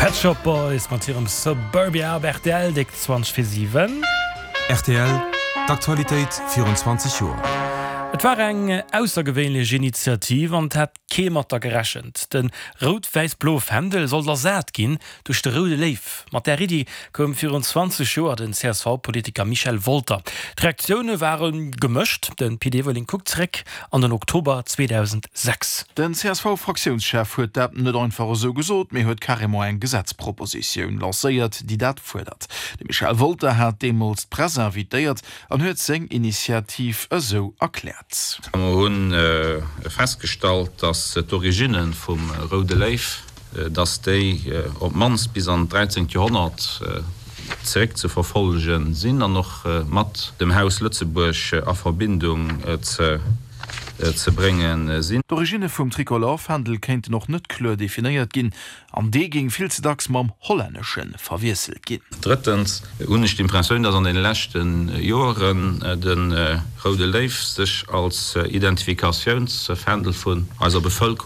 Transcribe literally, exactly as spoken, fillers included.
Pet Shop Boys mat hirem Suburbia op rtl, déck zwanzeg vir siwen. Rtl, D'Aktualitéit virun zwanzeg Joer. Et war eng aussergewéinlech Initiativ an et hat kee mat der gerechent. De rout-wäiss-bloe Fändel sollt ersat ginn duerch de roude Léiw. Mat där Iddi koum virun zwanzeg Joer den C S V-Politiker Michel Wolter. D'Reaktioune ware gemëscht. De Pit Everling kuckt zeréck an den Oktober zweedausendsechs. Den C S V-Fraktiounschef huet dat net einfach esou gesot, mee huet carrément eng Gesetzpropositioun lancéiert, déi dat fuerdert. De Michel Wolter hat deemools d'Press invitéiert an huet seng Initiativ esou erkläert. Mer hunn festgestallt, dass d'Originne vum Roude Léiw, dass déi op d'mannst bis an d'dräizéngt Joerhonnert zeréck ze verfollege sinn an och mat dem Haus Lëtzebuerg a Verbindung ze ze brénge sinn. D'Originne vum Tricolore-Fändel kéinten och net kloer definéiert ginn an dee géing vill ze dacks mam hollännesche verwiesselt ginn. Drëttens hunn ech d'Impressioun, dass an deene leschte Joeren de Roude Léiw sech als Identifikatiounsfändel vun eiser Bevëlkerung,